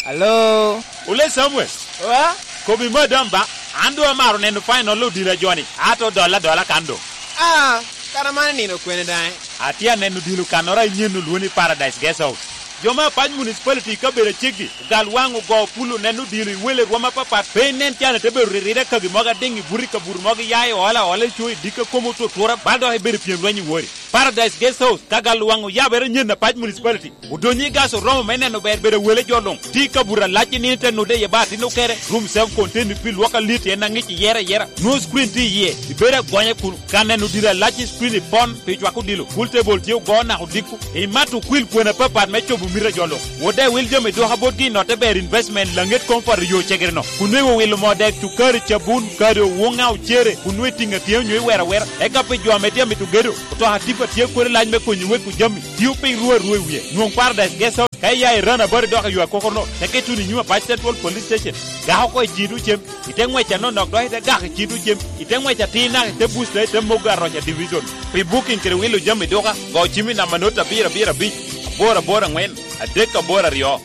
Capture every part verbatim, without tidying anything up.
Alo? Ole Samuel. Wa? Kobi madam ba, an doŋ amaro neno final odilo a joni, ato dola dola kan doŋ. Ah, kara man nino kwene daŋ? Atye aneno odilo kannoro a inyen olwoni Paradise Guest House. Jo me Apac Municipality i kabedo aceggi, ogal waŋ ogo pulo neno odilo i wele rwom apapat, pe inen can ite bedo riride kagi mogo adiŋ i buto i kabuto mogo iya i ola ola i co i dikka kom otutura, bal dok ibedo pyem lweny i wori. Paradise Guest House, ka gal waŋ oyabere nyen Apac Municipality. Odonyo i gas oromo me neno ber bedo wele jo luŋ. Tye i kabuto alac i nino te nude iye ba atin okere. Room seven contain pi lwok alit en aŋic iyere ayera. Nwoŋo screen tye iye. Ibedo agonya kun ka neno dilo alac i screen i pon pi cwako dilo. Pool table tye ogo naka odiko. Imato okwil kwena apapat me cobo mito a jo luŋ. Wode wil jami dwoka botgi i notte ber investment laŋet comfort yo cegere no. Kun nweŋo wilo moo dek cukari cabun kadi owuŋa ocere kun nwe tiŋa tye onyo iwero awera. Eka pi jo ame tye amito gedo. Otoka tipa tye kodi lac me konyo wek ojami. Tio piny rua rua i wie. Nwoŋ Paradise Guest House. Ka iya i rana bari dok i yo akokono, te keto ni nyuma Apac Central Police Station. Gako oko i cito cem. Ite ngwec anonok dok ite gako i cito cem. Ite ngwec atir naka ite booster ite mogo aroca division. Pi booking kede wilo jami duka, go cim i namba not abiro abiro abic, aboro aboro angwen, adek aboro aryo.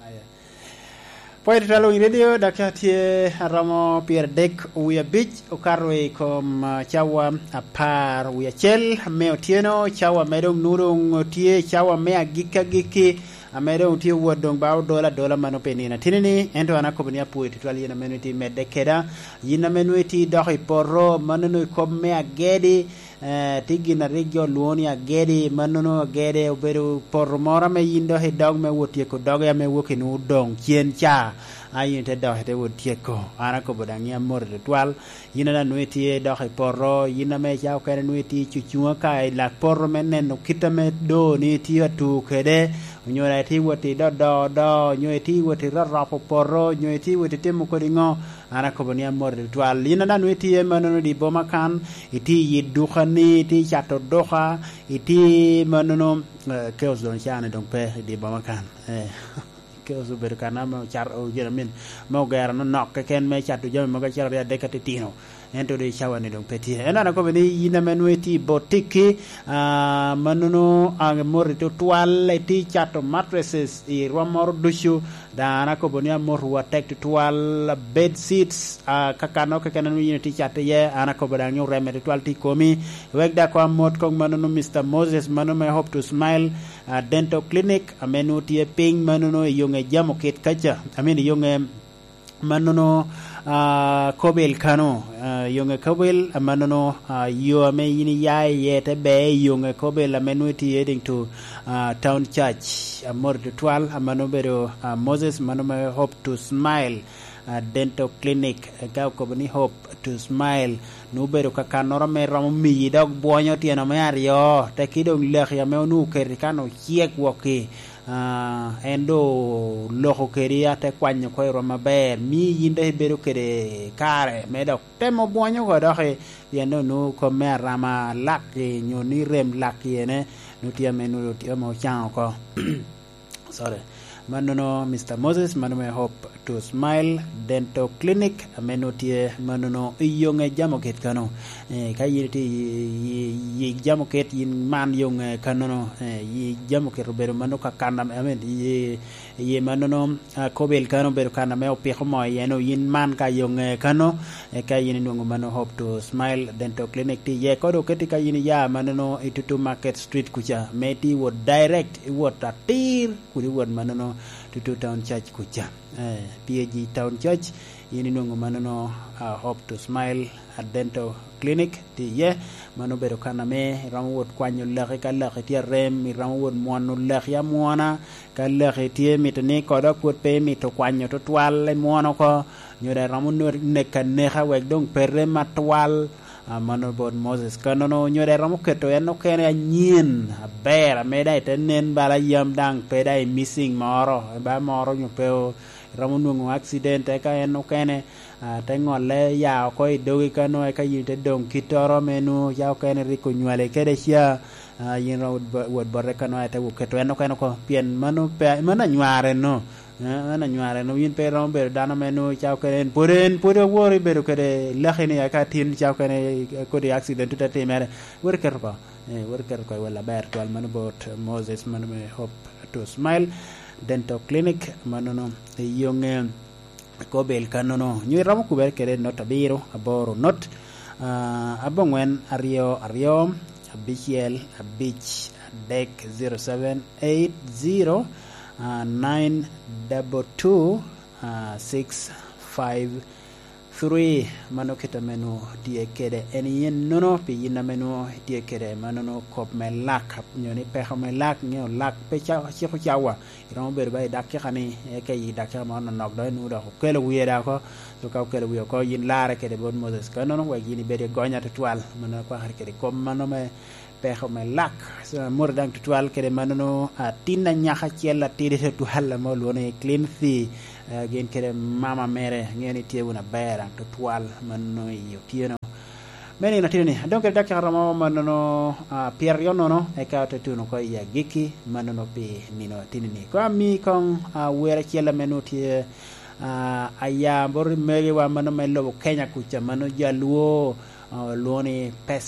Aya. Pwony tutwal winy redio, dakika tye aromo pyeradek wie abic okato i kom, ah, cawa apar wie acel me otyeno, cawa me doŋ nwoŋo doŋ tye cawa me agikki agikki, ame doŋ tye wot doŋ ba odolo adola mano pi nino atini-ni, ento an akobo ni apwoyo tutwal yin ame nwoŋo itye medde keda, yin ame nwoŋo itye dok i poto, mano nwoŋo i kop me agedi, Eh, tye gin a rik jo lwoŋo ni agedi, mannono agede obedo poto moro ame yin dok idok me wot tyeko doge ame wok inwoŋo odoŋ cen ca, a yin ite dok ite wot tyeko. An akobo daŋ ni amoti tutwal. Yin ame nwoŋo itye dok i poto, yin ame ca okene nwoŋo itye cucuŋ aka i lak poto me neno kit ame doo ni itye atu kede, onyo daŋ itye wot i dodo do, onyo itye wot i roropo poto, onyo itye wot itimo kodi ŋo, An akobo ni amoti tutwal. Yin ame nwoŋo itye mannono i boma kan, itye i yi dukani, itye i cato duka, itye mannono, eh, chaos doŋ caa-ni doŋ pe i dye boma kan. Eh, chaos obedo kan ame ocato, you know, I mean, me ogero nonok keken me cato jami mogo acel aryo adek atitino. Ento doŋ i cawa-ni doŋ pe tye. Ento an akobo ni yin ame nwoŋo itye i botiki, ah, mannono, ah, amoti tutwal, itye i cato mattresses i rwom moro ducu, Daŋ an akobo ni amotowu atek tutwal, bed sheets, ah, kakano keken ame yin itye cat iye, an akobo daŋ ni oreme tutwal tye i komi. Wek daŋ koŋ amot koŋ mannono Mister Moses, mano me Hope to Smile, ah, Dental Clinic, ame nwoŋo tye piny mannono i Yonge Jamokit kaca, I mean, i Yonge mannono, ah, Kobil kano, ah, Yonge Kobil, ah, mannono, ah, yo ame yin iya iye te ber i Yonge Kobil ame nwoŋo itye heading to, ah, Town Church. Amoti tutwal, a mano obedo, ah, Moses, mano me Hope to Smile, ah, Dental Clinic. Eka okobo ni Hope to Smile, nwoŋo obedo kakannoro ame romo miyi dok bwonyo tyeno me aryo, teki doŋ laki ame onwoŋo oketi kan ocek wokki. Ah, en doŋ oloko kedi, ate kwanyo oko i rwom aber, mi yin dok ibedo kede kare me dok temo bwonyo oko doki, pien doŋ nwoŋo kop me arama lak-ki, nyo ni rem lak-ki ene, nwoŋo tye ame nwoŋo tye ame ocaŋo oko. Sorry. Mannono, Mister Moses, mano me Hope to Smile Dental Clinic, ame nwoŋo tye mannono i Yonge Jamokit kano. Eh, ka yin itye i, i, i Jamokit, yin man Yonge kanono, eh, i Jamokit obedo mano ka kan ame, I mean, i, i mannono, ah, Kobil kano obedo kan ame opiko moo iye no, yin man ka Yonge kano, eka yin inwoŋo mano Hope to Smile Dental Clinic tye iye. Kodi oketi ka yin iya mannono i Tutu Market Street kuca, me itye iwot direct, iwot atir, kun iwot mannono Tutu Town Church kuca. Eh, P A G Town Church, yin inwoŋo mannono, ah, Hope to Smile, ah, Dental Clinic tye iye. Mano obedo kan ame iromo wot kwanyo laki ka laki tye arem, iromo wot mwono laki amwona, ka laki tye mito ni kodo pwod pe imito kwanyo tutwal, imwono oko, nyo daŋ iromo nwe-, neko aneka wek doŋ pe rem atwal. Ah, mano bot Moses. Kanono, nyo daŋ iromo keto en okene anyen, aber, ame daŋ ite nen bala yam daŋ pe daŋ i missing moro, ba moro nyo pe o-, iromo nwoŋo accident, eka en okene, ah, te ŋolle ya oko i dogi kano, eka yin ite doŋ kittoro me nwoŋo ca okene rik onywali kede ca, ah, yin iromo wot bo-, wot bote kano, ite wo keto en okene oko, pien mano pe, mano anyware no. Eh, en anyware, no, yin pe iromo bedo dano me nwoŋo icako kene, en pwod, en pwod aworo ibedo kede laki ni aka tin icako kene, eh, kodi accident tut atimere. Wot iketo oko. Eh, wot iketo oko i wel aber twal mano bot Moses, mano me Hope to Smile Dental Clinic, manono i Yonge, Kobel kannono. Nyo iromo kubere kede not abiro, aboro not, ah, abongwen aryo aryo, abicel abic adek, zero seven eight zero, ah, nine double two, ah, six five three. Mano kit ame nwoŋo tye kede en yen nono, pi yin ame nwoŋo itye kede manono kop me lak, nyo ni peko me lak, ŋeo lak pe ca-, ciko cawa. Iromo bedo ba i dakika ni, eka i dakika mo nonok dok inwoŋo dok okelo wie dok oko. So ka okelo wie oko, yin larre kede bot Moses kannono, wek yin ibed i gonya tutwal. Mano akwakere kede kop mano me peko me lak. So, amoti daŋ tutwal kede manono, atin anyaka acel atidi tutwal ame olwoŋo ni Clincy, eh, gin kede mama mere, aŋeo ni tye wunu aber daŋ tutwal mano i otyeno. Me nino tye ni, adong kede dakika romo manono, ah, pyeraryo nono, eka ote tuno oko i agikki manono pi nino atini ni. Koŋ ami koŋ, ah, wer acel ame nwoŋo tye, ah, aya bot i megiwa mano me lobo Kenya kuca, mano jo Alwo, ah, olwoŋo ni Pes